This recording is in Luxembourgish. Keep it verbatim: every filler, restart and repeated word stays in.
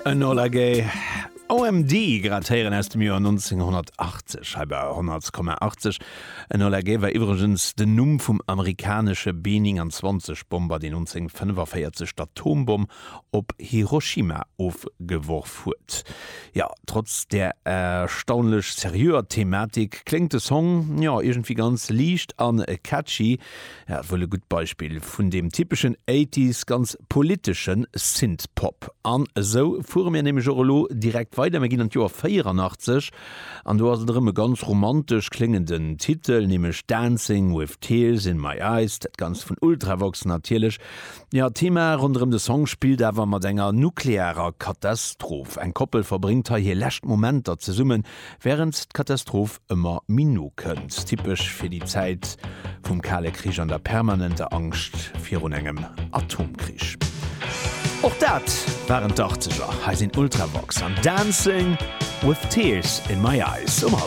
Enola Gay OMD grad héieren aus dem Joer nonzénghonnertachtzeg hei bei honnert Komma achtzeg. Enola Gay war iwwregens den Numm vum amerikanesche B neunundzwanzeg Bomber, deen nonzénghonnertfënnefenvéierzeg d'Atombomm op Hiroshima ofgeworf huet. Jo, trotz där erstaunlech seriöer Thematik kléngt de Song, jo, iergendwéi ganz liicht an catchy. Ja, wuel e gutt Beispill vun deem typeschen Eighties ganz politeschen Synthpop. An esou fuere mir nämlech och elo direkt weider, mir ginn an d'Joer véieranachtzesch an do ass et erëm e ganz romantesch kléngenden Titel, nämlech Dancing with Tears in My Eyes, dat Ganzt vun Ultravox natierlech. Jo, d'Thema ronderëm de Song spillt awer mat enger nuklearer Katastroph. Eng Koppel verbréngt hei hir lescht Momenter zesummen, wärend d'Katastroph ëmmer méi no kënnt. Typesch fir déi Zäit vum Kale Krich an der permanenter Angscht virun engem Atomkrich. Och dat waren d'Achtzeger. Hei sinn Ultravox an Dancing with Tears in My Eyes um